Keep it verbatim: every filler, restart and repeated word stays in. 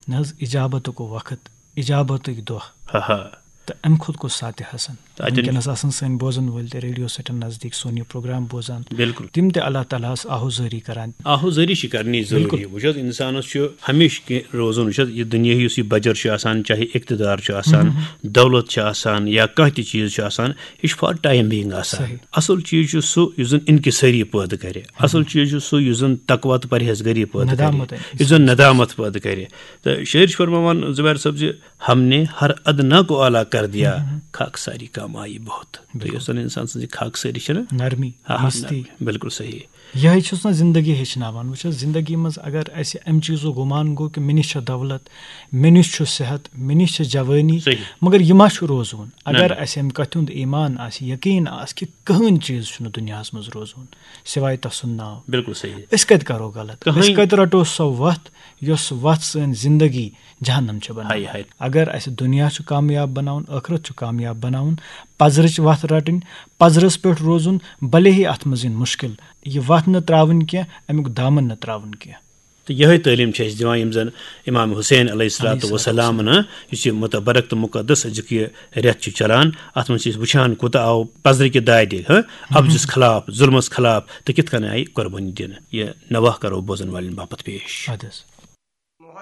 نہ حظ، اجابتُک وقت، اجابتٕکۍ دۄہ۔ ہا ہا۔ تہٕ امہِ کھۄتہٕ کُس ساتہِ حسن؟ تہٕ اتٮ۪ن وٕنکیٚنس آسن سٲنۍ بوزن وٲلۍ تہِ ریڈیو سیٹن نزدیٖک سون یہِ پروگرام بوزان۔ بِلکُل۔ تِم تہِ اللہ تعالیٰ ہس آہوزٲری کران۔ آہوزٲری چھِ کرنی ضروٗری۔ بِلکُل۔ وٕچھ حظ، انسانس چھُ ہمیشہِ کینٛہہ روزُن۔ وٕچھ حظ، یہِ دُنیاہی یُس یہِ بجر چھُ آسان، چاہے اقتدار چھُ آسان، دولت چھِ آسان یا کانٛہہ تہِ چیٖز چھُ آسان، یہِ چھُ for time being آسان۔ صحیح۔ اصل چیٖز چھُ سُہ یُس زن انکسٲری پٲدٕ کرِ۔ اصل چیٖز چھُ سُہ یُس زن تقویٰ تہٕ پرہیزگٲری پٲدٕ کرِ، ندامت۔ یُس زن ندامت پٲدٕ کرِ۔ تہٕ شٲعر چھُ فرماوان زبیر صٲب زِ ہم نے ہر ادنا کو اعلیٰ کر دیا، خاک ساری کام آئی بہت۔ تہٕ یۄس زن انسان سٕنٛز یہِ خاک سٲری چھِ نا، نرمی، ہا، ہا، دوستی۔ نرمی، بِلکُل صحیح۔ یِہوٚے چھُس نہ زندگی ہیٚچھناوان۔ وٕچھ حظ، زندگی منٛز اگر اَسہِ اَمہِ چیٖزُک گُمان گوٚو کہِ مےٚ نِش چھےٚ دولت، مےٚ نِش چھُ صحت، مےٚ نِش چھےٚ جوٲنی، صحیح۔ مگر یہِ ما چھُ روزوُن؟ اگر نہ۔ اَسہِ اَمہِ کَتھِ ہُنٛد ایمان آسہِ، یقیٖن آسہِ کہِ کٕہٕنۍ چیٖز چھُنہٕ دُنیاہَس منٛز روزوُن سِوایے تَسُنٛد ناو، بِلکُل صحیح۔ أسۍ کَتہِ کَرو غلط؟ کٕہٕنۍ۔ أسۍ کَتہِ رَٹو سۄ وَتھ، یۄس وَتھ سٲنۍ زندگی جہنم چھِ بناوان؟ ہاے ہاے۔ اگر اَسہِ دُنیا چھُ کامیاب بناوُن، ٲخرت چھُ کامیاب بناوُن، پزرٕچ وَتھ رَٹٕنۍ، پزرَس پٮ۪ٹھ روزُن، بھلے ہی اَتھ منٛز یِن مُشکِل، یہِ وَتھ نہٕ ترٛاوٕنۍ کینٛہہ، اَمیُک دامن نہٕ ترٛاوُن کینٛہہ۔ تہٕ یِہوٚے تعلیٖم چھِ اَسہِ دِوان یِم زَن امام حسین علیہ الصلوۃ علیہ الصلوۃ والسلام، نہ، یُس یہِ متبرک تہٕ مقدس أزیُک یہِ رٮ۪تھ چھُ چلان، اَتھ منٛز چھِ أسۍ وٕچھان کوٗتاہ آو پزرٕکہِ دادِ، ہاں، اَپزِس خلاف، ظُلمَس خلاف، تہٕ کِتھ کٔنۍ آیہِ قۄربٲنی دِنہٕ۔ یہِ نوحہٕ کَرو بوزَن والٮ۪ن باپتھ پیش۔ اَدٕ حظ۔